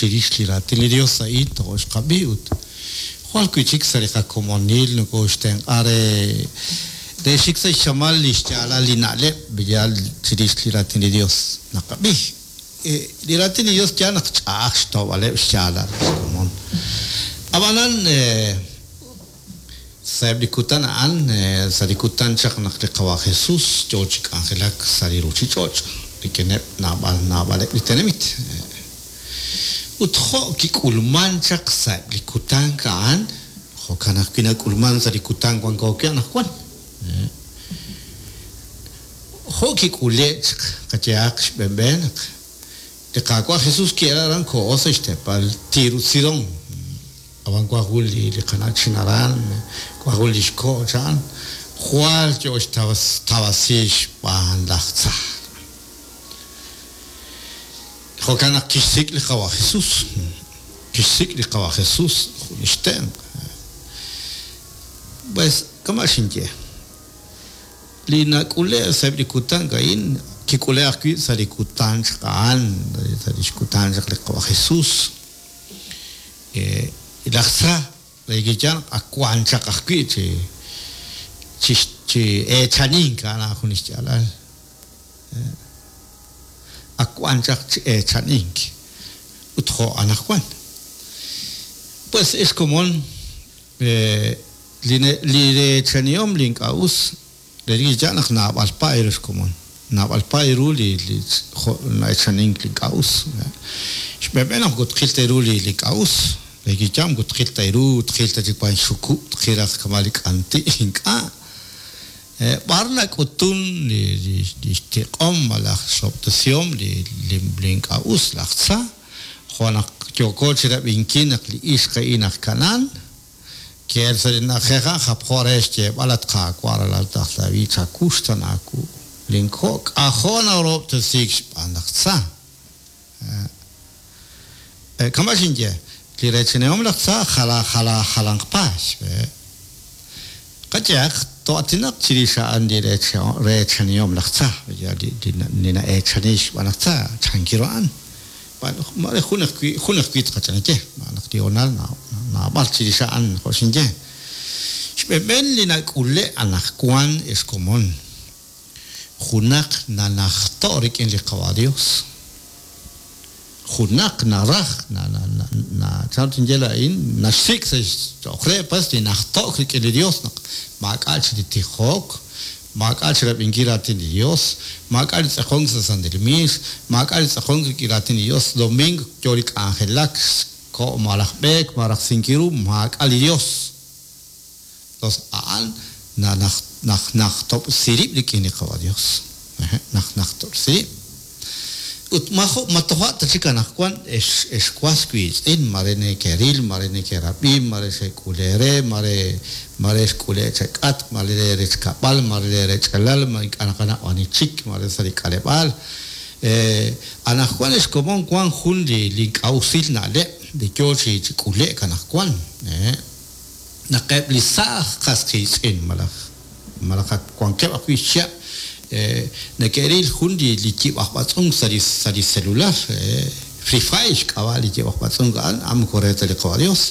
chirix li Raatin li Dios a'in tojo' xqab'i ut jwal wi'chik sa' li qakomonil nokoxtenq'a re re xik sa' xchamal li xyaalal li na'leb' yaal chirix li Raatin li Dios naqab'i. Li Raatin li Dios yaal naq ch'a'aj xtawb'aleb' xyaalal li xkomon. Ab'anan, sa'eb' li kutan a'an, sa' li kutan chaq naq li Qawa' Jesus yoo chi k'anjelak sa' li ruchich'och' rik'ineb' naab'al naab'aleb' li tenamit. Ut jo' kik'ulman chaq sa'eb' li kutan a'an, jo'kan ajwi' nak'ulman sa' li kutan wanko wi' anaqwan. Jo' kik'ule' chaq qayehaq xb'een naq li Qaawa' Jesus ki'el aran koho sa' xteepal Tiro ut Sidón. Ab'an wank jun li qana'chin aran, wank jun li xko' cha'an, jwal yo xtawasiik xb'aan laj tza. Jo'kan naq kixsik' li Qawa' Jesus, kixsik' li Qawa' Jesus jun li xtenq'. Pues kama' xinye. Li nak'ule' sa'eb' li kutan a'in, kik'ule' ajwi' sa' li kutan chaq a'an, sa' lix kutan chaq li Qawa' Jesus. Laj tza re kiyaal naq ak wan chaq ajwi' chi chi chi eechanink, a'an a'an jun lix yaalal. Ak wan chaq chi eechanink ut jo' anajwan. Pues ex komon, Li reechanihom li ink'a' us, relik chi yaal naq naab'al paay ru xkomon. Naab'al paay ru li jo' na'echanink li ink'a' us. Xb'een naq moko tqil ta ru li ink'a' us, relik chi yaal moko tqil ta ru, tqil ta chi wank xxukub', tqil raj kama' li k'anti', ink'a'. B'ar nak'utun li xtiq'om malaj xrob'tesihom li ink'a' us, laj tza, jo' naq yooko chirab'inkil naq li ixq a'in aj Kanaan, Ki'elk sa' li na'ajej a'an japjo re xyeeb'al, At Qaawa', ralal laj David, chawuxtaan aawu. Linko' k'ajo' narahob'tesiik xb'aan laj tza. Kama' xinye, li reechanihom laj tza jalan jalanq paay. Qayehaq, too'aatinaq chirix a'an li reechanihom laj tza, li na'eechaniik xb'aan laj tza, chankiru a'an. Maare jun ajwi' jun ajwi' tqach'anaye, xb'aan naq li hoonal naab'al chirix a'an, jo' xinye. Xb'een li nak'ule' anaqwan, ex komon, junaq nanajto' rik'in li Qawa' Dios, junaq naraj, chan ru tinye laa'in, naxsik' sa' xchoq re pues li najto'k rik'in li Dios naq maak'a' chik li tijok, Maak'a' chi rab'inkil raatin li Yos, maak'a' li tz'aqonk sa' santil miix, maak'a' li tz'aqonk rik'in raatin li Yos, domingo yo li k'anjelak, xko' malaj b'eek malaj rajsinkil ru, maak'a' li Yos. Tos a'an najnajtob'si rib' rik'in li Qawa' Yos. Najnajtob'si rib'. Ut majo' ma toja' ta chik anaqwan, ex, ex was wiitz'in, mare nekeril, mare nekerab'i, mare xek'ul eere, mare, mare xk'ule' chek'atq, mare lee rech kab'al, mare lee rech'alal, ma ink'a' naqanaw ani chik, mare sa' li k'aleb'aal. Anaqwan ex komon wan jun li, li ink'a' usil na'leb' li yoo chi, chi k'ule'k anaqwan, naq eb' li saaj qas qiitz'in malaj malaj ak wankeb' ajwi' xchihab' neke'ril jun li yib' aj b'atz'unk sa' li sa' li celular, Free Fire xk'ab'a' li yib' aj b'atz'unk a'an, a'an moko re ta li Qawa' Dios.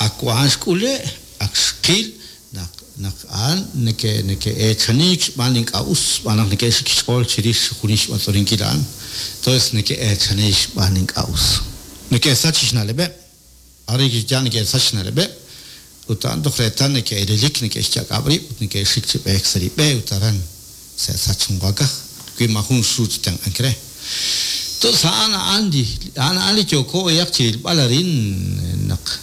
Ak a'an xk'ule', ak xqil naq naq a'an neke' neke'eechaniik xb'aan li ink'a' us, xb'aan naq neke'xik xch'ool chirix junes xb'atz'ulinkil a'an. Entonces neke'eechaniik xb'aan li ink'a' us. Neke'sach xna'leb'eb'. Arin kixye neke'sach xna'leb'eb', ut a'an toj reetal neke'elelik, neke'xyak'ab' rib' ut neke'xik chi b'eek sa' li b'e ut aran se'sach jun waakaj, wi maajun xru chi tenq'ank re. Tos a'an a'an li a'an a'an li yooko b'ayaq chi rilb'al arin naq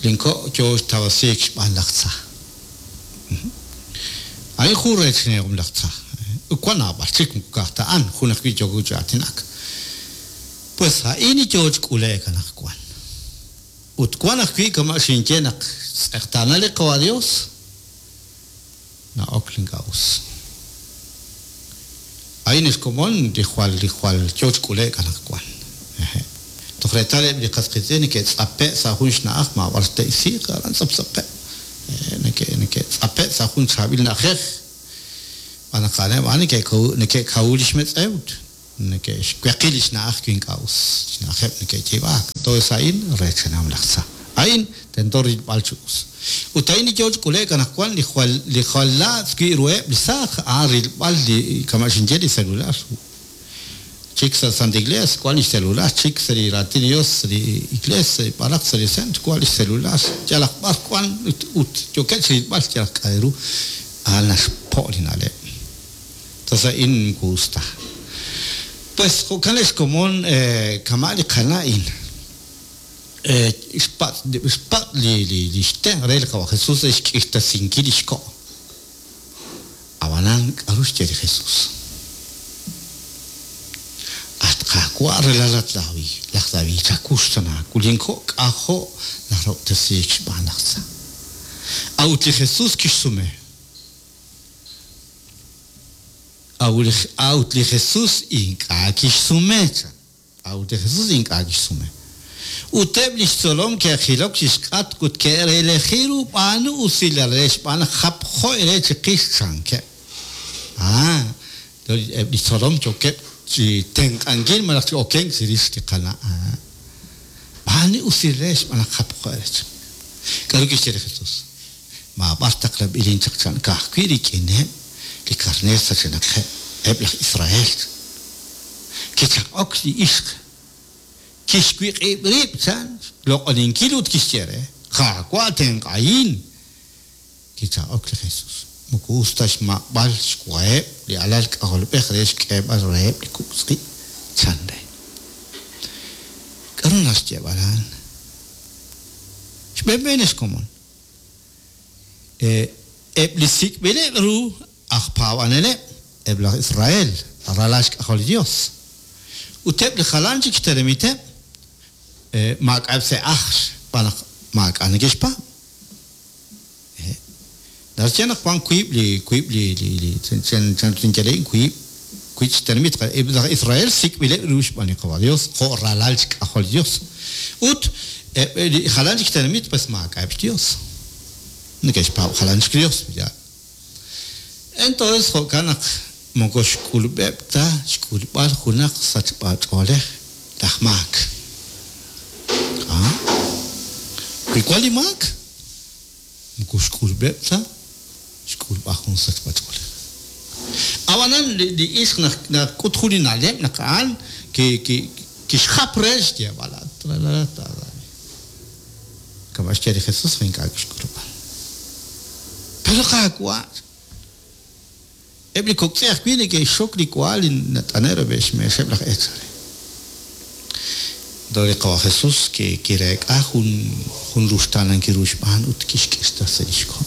linko' yoo xtawasiik xb'aan laj tza. A'in jun reechanihom laj tza. Ut wan naab'al chik, moko ka'aj ta a'an, jun ajwi' yooko chi aatinak. Pues a'in li yoo chi k'ule'k anaqwan. Ut wan ajwi' kama' xinye naq xtz'eqtaana li Qawa' Dios, na'ok li ink'a' us. A'in li xkomon li jwal li jwal yoo chi k'ule'k anaqwan. Hehe'. Toj reetal eb' li qas qiitz'in neke'tz'ape' sa' jun xna'aj maab'ar te'isiiq aran tz'aptz'apqeb'. Neke' neke'tz'ape' sa' jun chaab'il na'ajej. Xb'aan naq a'aneb' a'an neke'kawu lix metz'ew. Neke'xweqi li xna'aj wi ink'a' us xna'ajeb' neke'yiib'aak. Entonces a'in reechanihom laj tza. A'in tento rilb'al chi us. Ut a'in li yoo chi k'ule'k anaqwan li jwal li jwal laatz' wi' ruheb' li saaj, a'an rilb'al li kama' xinye li celular. Chik sa' Santa Iglees wan li xcelular, chik sa' li Raatin li Dios sa' li Iglees, b'araq sa' li centro wan li xcelular. Yalaq b'ar wan ut ut yookeb' chi rilb'al yalaq k'a' ru. A'an naxpo' li na'leb'. Entonces a'in moko us ta. Pues jo'kan ex komon kama' li qana' a'in xpatz' xpatz' li li xtenq' re li Qawa' Jesús re xk'irtasinkil li xko'. Ab'anan k'aru xye li Jesús? At Qaawa' ralal at David, laj David, chawuxtana wu, linko' k'ajo' narahob'tesiik xb'aan laj tza. A'ut li Jesús kixsume, A'ut li Jesus ink'a' kixsume, chan. A'ut li Jesus ink'a' kixsume. Ut eb' li xtzolom ke'jilok chi xk'atq ut ke'releji ru, B'aanu usilal re xb'aan naq japjo eere chiqix, chankeb'. Ah, eb' li xtzolom yookeb' chi tenq'ankil malaj chi okenk chirix li qana'. Ah, b'aanu usilal re xb'aan naq japjo eere chiqix. K'aru kixye li Jesus? Maab'ar taqlanb'ilin chaq chan ka'ajwi' rik'ineb' li karneer sachenaqeb' eb' laj Israel. Kichaq'ok li ixq, kixwiq'ib' rib' chan xloq'oninkil ut kixye re, Qaawa' tenq'ahin! Kichaq'ok li Jesus, Moko us ta xmaq'b'al xwaheb' li alal k'ajolb'ej re xk'eeb'al reheb' li kok' tz'i', chan re. K'aru naraj xyeeb'al a'an? Xb'een b'een ex komon, Eb' li sik'b'ileb' ru aj paab'aneleb', eb' laj Israel, ralal xk'ajol li Yos, ut eb' li jalan chik xtenamiteb', maak'a'eb' sa' ajl xb'aan naq maak'a' neke'xpaab'. Naxye naq wank wiib' li wiib' li li chan chan tinye a'in wiib' wiib' chi tenamit. Eb' laj Israel sik'b'ileb' ru xb'aan li Qawa' Yos jo' ralal xk'ajol li Yos. Ut eb' li jalan chik tenamit pues maak'a'eb' xYos. Neke'xpaab' jalan chik Yos, yaal. Entonces jo'kan naq moko xk'ulub'eb' ta xk'ulb'al junaq sachb'a-ch'oolej laj maak. Wi wan li maak, Moko xk'ulub'eb' ta xk'ulb'al jun sachb'a-ch'oolej. A'b'anan, li ixq naq nak'ut jun li na'leb' naq a'an kixjap re xyeeb'al, At ralal laj David. Kama' xye li Jesus, ink'a' kixk'ulub'a. Pero Qaawa', Eb' li kok' tz'i' ajwi' neke'xxok li wa li nat'ane' rub'el xmeexeb' laj eechal re. Toja' li Qawa' Jesus kireek'a jun jun ruxtaanankil ru xb'aan ut kixk'irtasi li xko'.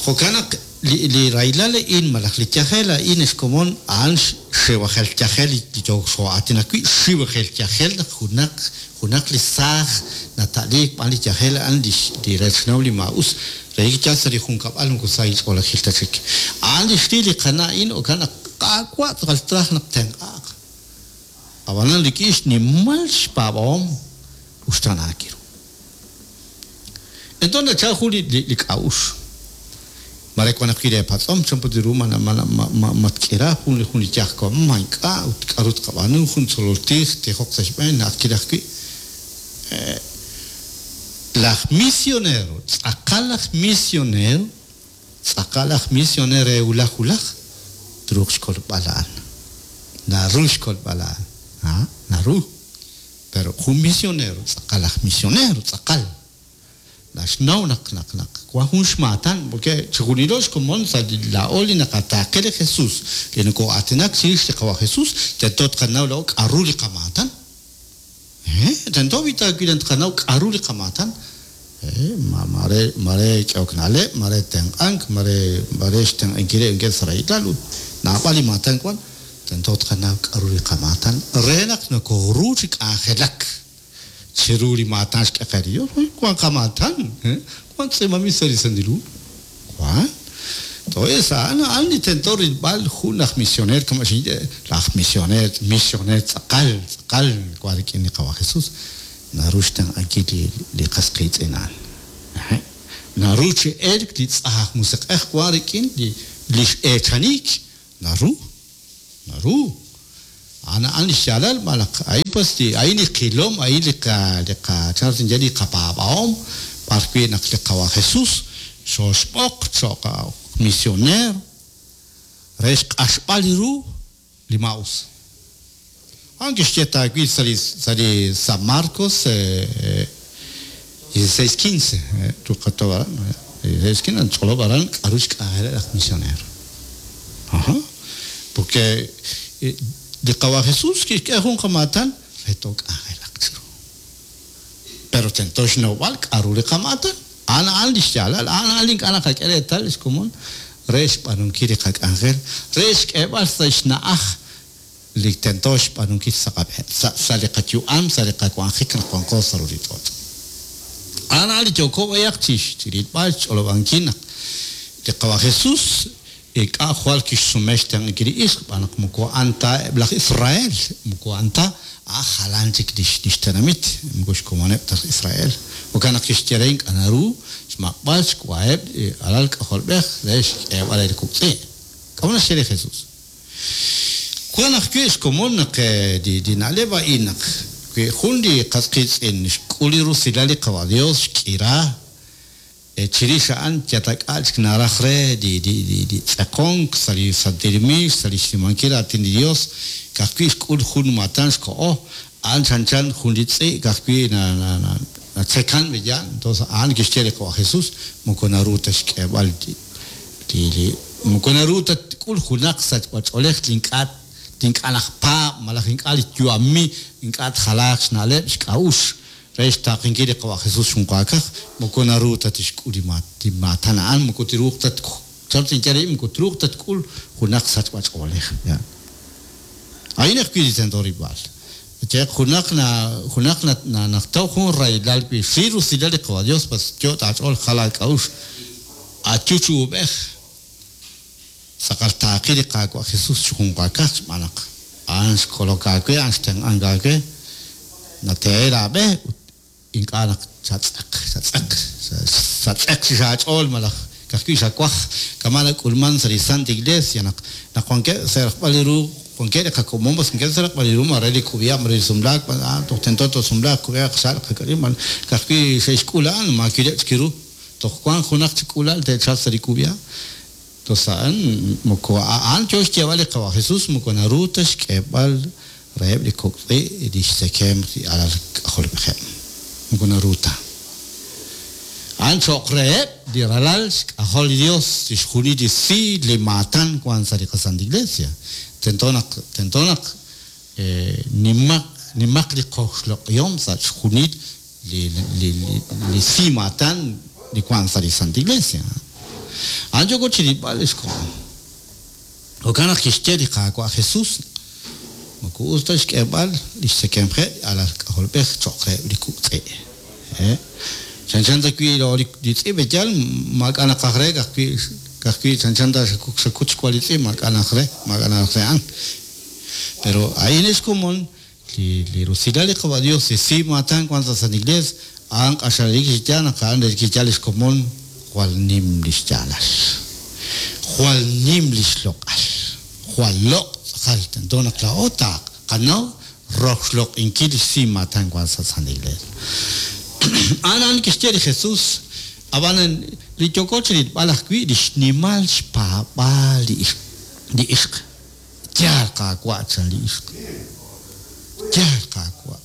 Jo'kan naq li li rahilal a'in malaj li yajel a'in ex komon a'an xxiwajel yajel li yook xoo'aatinak wi', xiwajel yajel naq junaq Junaq li saaj nata'liik b'an li yajel a'an li li rech naw li maa'us, relik yaal sa' li junkab'al moko sahil ch'oolejil ta chik. A'an li xril li qana' a'in jo'kan naq Qaawa' tz'aqal traj naq tenq'aaq. Ab'anan rik'in xnimal xpaab'ahom uxtaanaak ru. Enton nachal jun li li k'a'uxl. Mare wan ajwi' leepatz'om, chan put ru ma ma tk'ira jun li jun li yaj wa, ma ink'a' ut k'aru tqab'aanu, jun tzolol tij tijoq sa' xb'een, na'ajkil ajwi'. Laj misionero, tz'aqal aj misionero, tz'aqal aj misioner re wulaj wulaj, truuq xkolb'al a'an. Naru xkolb'al a'an. Ha? Naru. Pero jun misionero, tz'aqal aj misionero, tz'aqal. Naxnaw naq naq naq wan jun xmaatan, porque chijunilo xkomon sa' li laa'o li naqataaqe li Jesus, li noko'aatinak chirix li Qawa' Jesus, tento tqanaw laa'o k'a'ru li qamaatan. He, tento b'i ta wi' tqanaw k'a'ru li qamaatan. He, ma maare maare k'ehok na'leb', maare tenq'ank, maare maare xtenq'ankileb' ink'a' sa' rahilal ut naab'al li maatan wan, tento tqanaw k'a'ru li qamaatan re naq nokoru chi k'anjelak. Chiru li maatan xk'e qe li Yos, wank qamaatan, wank tz'iib'anb'il sa' li Santil Hu. Wank. Entonces, a'an a'an li tento rilb'al jun aj misioneer kama' xinye, laj misioneer, misioneer tz'aqal, tz'aqal wank rik'in li Qawa' Jesus, naru xtenq'ankil li li qas qiitz'in a'an. Naru chi elk li tz'aj aj musiq'ej wank rik'in li li x'eechaniik, naru. Naru. A'an a'an li xyaalal xb'aan naq a'in pues li a'in li qilom, a'in li qa li qa chan ru tinye li qapaab'ahom b'ar wi' naq li Qawa' Jesús xooxb'oq cho'q misioneer re xq'axb'al ru li maa'us. A'an kixye taawil sa' li sa' li San Marcos 16:15 tuqatob' aran 16:15 nach'olob' aran k'a'ru xk'anjeleb' laj misioneer. Ajá. Porque li Qawa' Jesús kixk'e jun qamaatan re took'anjelaq chiru. Pero tento xnawb'al k'a'ru li qamaatan. A'an a'an li xyaalal, a'an a'an li ink'a' naqak'e reetal li xkomon re xb'aanunkil li qak'anjel, re xk'eeb'al sa' xna'aj li tento xb'aanunkil sa' qab'een, sa' sa' li qayu'am, sa' li qawanjik naq wanqo sa' ruuchich'och'. A'an a'an li yooko b'ayaq chi rilb'al, xch'olob'ankil naq li Qawa' Jesús ink'a' jwal kixsume xtenq'ankil li ixq xb'aan naq moko a'an ta eb' laj Israel, moko a'an ta, a'an jalan chik li xtenamit, moko xkomoneb' ta laj Israel. Jo'kan naq kixye re ink'a' naru xmaq'b'al xwaheb' li alal k'ajolb'ej re xk'eeb'al re li kok' tz'i'. K'a'ut naxye li Jesús? Wank ajwi' xkomon naq li na'leb' a'in naq wi jun li qas qiitz'in xk'ul li rusilal li Qawa' Dios xk'ira, chirix a'an yatak'a' chik naraj re li tz'eqonk sa' li santil miix, sa' li xnimankil raatin li Dios, ka'ajwi' xk'ul jun maatan xkoho, a'an chanchan jun li tz'i' ka'ajwi' natzekan b'eyaal. Entonces a'an kixye li Qawa' Jesus, moko naru ta xk'eeb'al li moko naru ta tk'ul junaq sachb'a-ch'oolej li ink'a' li ink'a' najpaab' malaj ink'a' li yu'ami, ink'a' tjalaaq xna'leb', xk'a'uxl re xtaaqenkil li Qawa' Jesus xjunqaakaj, moko naru ta tixk'ul li li maatan a'an, moko truuq ta chan tinye re, moko truuq ta tk'ul junaq sachb'a-ch'oolej. A'in ajwi' li tento rilb'al. Yeeq junaq na junaq na naqtaw jun rahilal wi xril rusilal li Qawa' Dios pas yot' aach'ool jal aak'a'uxl ayu chi uub'ej tz'aqal taaqi li Qaawa' Jesus chi junwaakaj xb'aan naq a'an xkolok aawe a'an xtenq'ank aawe natehe' laab'e ut Ink'a' naq chatz'eq, chatz'eq, chatz'eq chix aach'ool malaj ka'ajwi' xawaj, kama' nak'ulman sa' li Sant Iglesia naq naq wankeb' sa' rajb'al li ru, wankeb' li qakomon b'as wankeb' sa' rajb'al li ru maare li kub'iha' maare li sumlaak, toj tento toosumlaaq, kub'iha' qaxa' qak'a'ru malaj ka'ajwi' xe'xk'ul a'an maakileb' chik ru, toj wank junaq chik k'uula'al te'chalq sa' li kub'iha'. Tos a'an moko a'an yoo xyeeb'al li Qawa' Jesus moko naru ta xk'eeb'al reheb' li kok' tz'i' li xtzekemq li alal k'ajolb'ejeb'. Moko naru ta. A'an cho'q reheb' li ralal xk'ajol li Dios chixjunil li si li maatan wank sa' li qaSanta Iglesia. Tento naq tento naq nimaq nimaq li qoxloq'ihom sa' chixjunil li li li si maatan li wank sa' li Santa Iglesia. A'an yooko chirilb'al lix komon. Jo'kan naq kixye li Qaawa' Jesus, Moko us ta xk'eeb'al li xtzekemqeb' li alal k'ajolb'ej cho'q reheb' li kuk' tz'i'. Chanchan ta wi' li tz'i' b'eyal maak'a' naqaj re, ka'ajwi' chanchan ta xakut xwa li tz'i' maak'a' naraj re, maak'a' naraj re a'an. Pero a'in ex komon, li rusilal li Qawa' Dios, li si maatan wank sa' San Iglees, a'an q'axal relik chi yaal naq a'an relik chi yaal lix komon jwal nim lix yaalal. Jwal nim lix loq'al. Jwal loq' tz'aqal tento naq laa'o taqanaw roxloq'inkil li si maatan wank sa' San Iglees. A'an a'an kixye li Jesus, ab'anan li yooko chirilb'al ajwi' li xnimal xpaab'aal li ixq. Yaal, Qaawa', chan li ixq. Yaal, Qaawa'.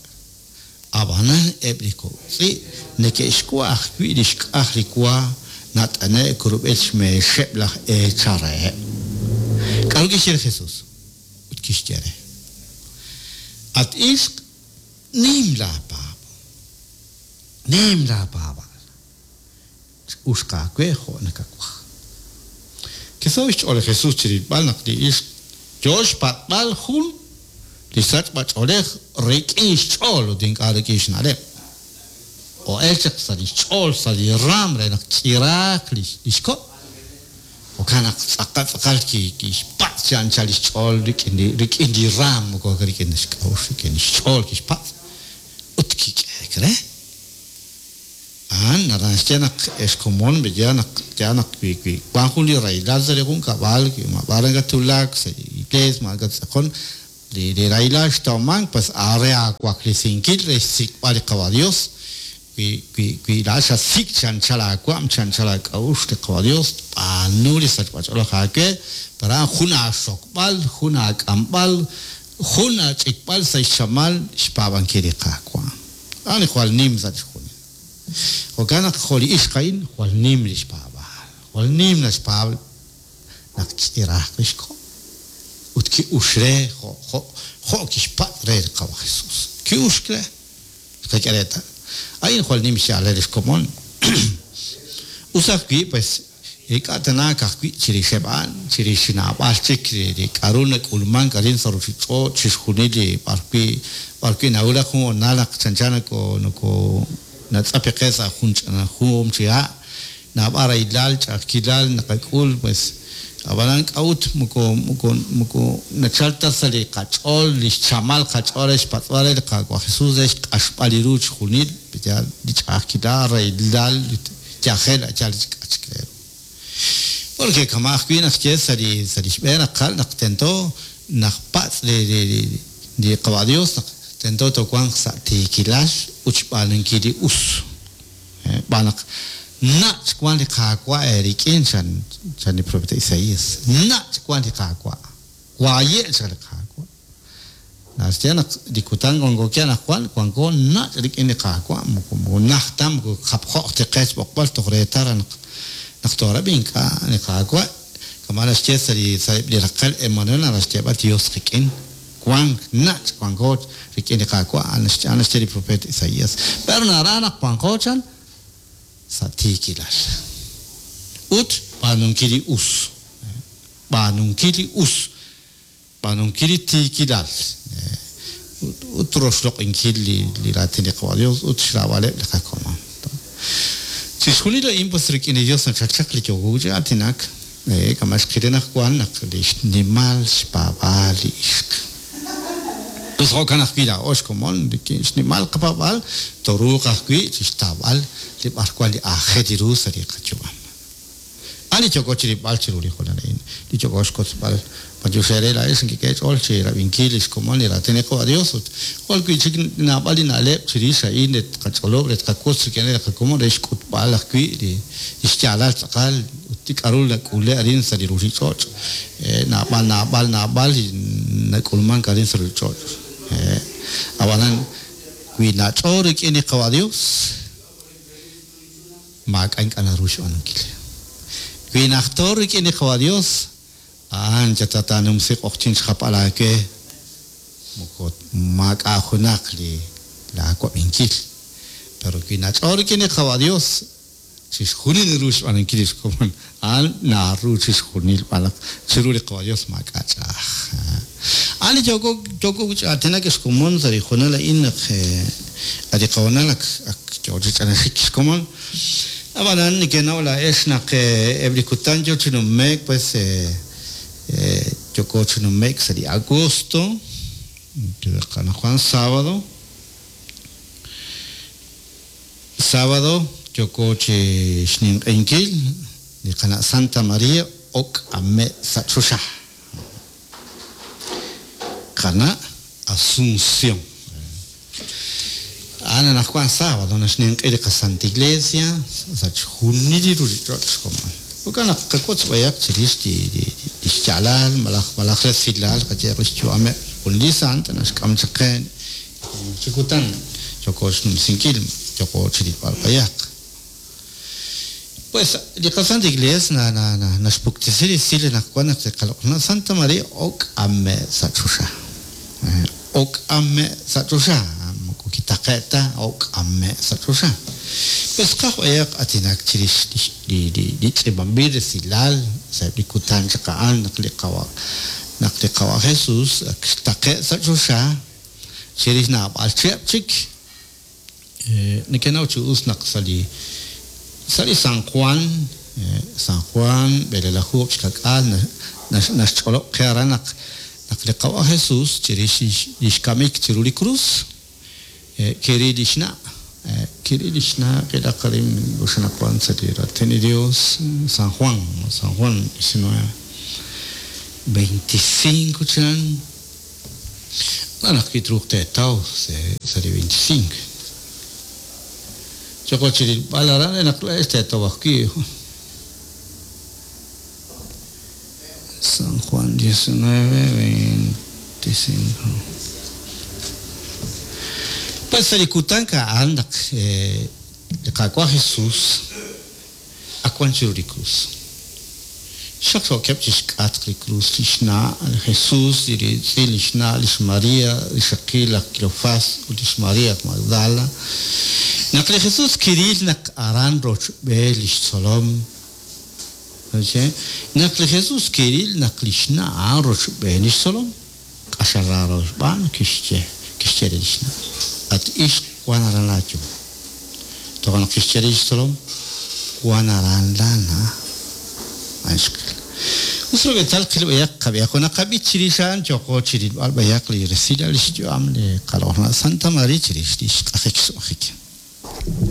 Ab'anan eb' li kok' tz'i' neke'xwa' ajwi' li xk'aj li wa nat'ane'k rub'el xmeexeb' laj eechal reheb'. K'aru kixye li Jesus? Ut kixye re, At ixq, nim laapaab'aal. Nim laapaab'aal. Ch'uxq aawe jo' nakawaj. Kisaho' xch'ool li Jesus chi rilb'al naq li ixq yoo xpatz'b'al jun li sachb'a-ch'oolej rik'in xch'ool ut ink'a' rik'in xna'leb'. O'el chaq sa' lix ch'ool, sa' li raam re naq k'iraaq lix ko'. Jo'kan naq tz'aqal tz'aqal kixpatz' chi anchal lix ch'ool rik'in li raam, moko rik'in ta xk'a'uxl, rik'in lix ch'ool kixpatz' ut kik'ehek re. A'an naraj naxye naq ex komon, yaal naq yaal naq wi wi wan jun li rahilal sa' li junkab'al, wi maab'ar nakatwulak sa' li. iglees, ma nakattz'aqon, li rahilal xtawmank pues a'an re aawaklesinkil re xsik'b'al li Qawa' Dios, wi wi wi laa'at xasik' chi anchal aawa'm, chi anchal aak'a'uxl li Qawa' Dios, tb'aanu li sachb'ach'oolej aawe, pero a'an jun aaxokb'al, jun aak'amb'al, jun aach'ikb'al sa' xchamal xpaab'ankil li Qaawa'. A'an li jwal nim sa' chixjunil. Jo'kan naq jo' li ixq a'in jwal nim lix paab'aal, jwal nim naxpaab' naq k'iraaq lix ko', ut ki'ux re jo' jo' jo' kixpatz' re li Qawa' Jesus. Ki'uxk re. Xqak'e reetal. A'in jwal nim xyaalal lix komon. Us ajwi', pues, ink'a' tana ka'ajwi' chirixeb' a'an, chirix naab'al chik li k'a'ru nak'ulmank arin sa' ruchich'och', chixjunil li b'arwi' b'arwi' nawulak jun hoonal naq chanchan noko noko natz'api qe sa' jun ch'ina juum chi ha', naab'al rahilal, ch'a'ajkilal naqak'ul, pues, ab'anan k'a'ut moko moko moko nachal ta sa' li qach'ool li xchamal qach'ool re xpatz'b'al re li Qaawa' Jesus re xq'axb'al li ru chixjunil, yaal, li ch'a'ajkilal, rahilal, yajel a' yaal li k'a' chik re ru. Porque kama' ajwi' naq xye sa' li sa' li xb'een raqal naq tento naq patz' li li li Qawa' Dios naq tento toowanq sa' tiikilal ut xb'aanunkil li us. Xb'aan naq nach' wank li Qaawa' eerik'in, chan chan li profeta Isaías. Nach' wank li Qaawa'. Waye' chan li Qaawa'. Naxye naq li kutan wanko wi' anaqwan, wanko nach' rik'in li Qaawa', moko moko najt ta, moko japjo'q ta qe xb'oqb'al toj reetal naq naq toorab'i ink'a' li Qaawa', kama' naxye sa' li sa'eb' li raqal Emmanuel naraj xyeeb'al Dios qik'in, wank nach' wanko rik'in li Qaawa', a'an naxye li profeet Isaías. Pero naraj naq wanqo chan sa' tiikilal ut b'aanunkil li us, b'aanunkil li us. Xb'aanunkil li tiikilal ut roxloq'inkil li raatin li Qawa' Dios ut xraab'aleb' li qakomon. Chixjunil a'in pues rik'in li Dios nachal chaq li yooko chi aatinak, kama' xqil anaqwan naq li xnimal xpaab'aal li ixq. Us jo'kan ajwi' laa'o xkomon rik'in xnimal qapaab'aal tooruuq ajwi' chixtawb'al li b'arwan li aajel ru sa' li qayu'am. A' li yooko chirilb'al chiru li hoonal a'in, li yooko xkotzb'al. B'antiox eere laa'ex nekek'e eech'ool chi rab'inkil lix komon li raatin li Qawa' Dios ut jwal wi'chik naab'al li na'leb' chirix a'in re tqach'olob' re tqawotz rik'ineb' li qakomon re xk'utb'al ajwi' li xyaalal tz'aqal ut li k'a'ru nak'ule' arin sa' li ruchich'och'. Naab'al, naab'al, naab'al li nak'ulmank arin sa' ruchich'och'. Ab'anan, wi nach'o rik'in li Qawa' Dios, Maak'a' ink'a' naru xb'aanunkil. Wi najto rik'in li Qawa' Dios, a'an yal taanumsi q'oqyink xjapb'al aawe, moko maak'a' junaq li laa wab'inkil. Pero wi nach'o rik'in li Qawa' Dios, chixjunil naru xb'aanunkil lix komon. A'an naru chixjunil b'alaq chiru li Qawa' Dios maak'a' ch'a'aj. A'an li yooko yooko wi' chi aatinak ex komon sa' li hoonal a'in naq a' li qahoonal ak ak yoo chi ch'anaxik xkomon. Ab'anan nekenaw laa'ex naq eb' li kutan yoo chi nume'k pues yooko chi nume'k sa' li agosto, anaqwan sábado. Sábado yooko chi xninq'ehinkil li qana' Santa María ok'ame' sa' choxa. Qana' Asunción. A'an anaqwan sábado naxninq'e li qaSanta Iglesia sa' chixjunil li ruchich'och' xkomon. Jo'kan naq qawotz b'ayaq chirix li xyaalal malaj malaj resilal qayehaq li xyu'ameb' jun li sant naxk'am chaq qe Chi kutan yooko xnumsinkil, yooko chi rilb'al b'ayaq. Pues, li qaSanta Iglees na, na, na, naxpuktesi resil anaqwan naq li qaloq'laj Santa Maria ok'ame' sa' choxa. Ok'ame' sa' choxa, moko kitaqe' ta, ok'ame' sa' choxa. Pues tqaj b'ayaq aatinak chirix li, li, li tz'iib'anb'il resilal sa'eb' li kutan chaq a'an naq li Qawa', naq li Qawa' Jesus ak xtaqe' sa' choxa, Chirix naab'al chihab' chik, nekenaw chi us naq sa' li sa' li San Juan, San Juan, b'elelaju xka'k'aal, naxch'olob' qe aran naq naq li Qawa' Jesus chirix lix kamik chiru li krus, kiril lix na', kiril lix na', qilaq arin oxanaqwan sa' li Raatin li Dios, San Juan, San Juan 19. 25 chan. Wan ajwi' truuq teetaw sa' li 25. Yooqo chi rilb'al aran re naq laa'ex teetaw ajwi'. San Juan 19, 25. Pues sa' li kutan a'an naq li Qaawa' Jesus ak wan chiru li krus. Xaqxookeb' chi xk'atq li krus li xna' li Jesus, li riitz'in li xna' li xMaria, rixaqil laj Kleofás ut li xMaria aj Magdala. Naq li Jesus kiril naq aran rochb'een li xtzolom, naq li Jesus kiril naq li xna' a'an rochb'een li xtzolom, q'axal raaro xb'aan, kixye, kixye re li xna', At ixq, wank aran laayum. Toja' naq kixye re li xtzolom, Wank aran laana'. A'in xqil. Us rub'eetal qil b'ayaq qab'ihaq ut naqab'i chirix a'an yooqo chi rilb'al b'ayaq li resilal lix yu'am li qaloq'laj na' Santa Maria chirix lix q'ajik xsum'ajik.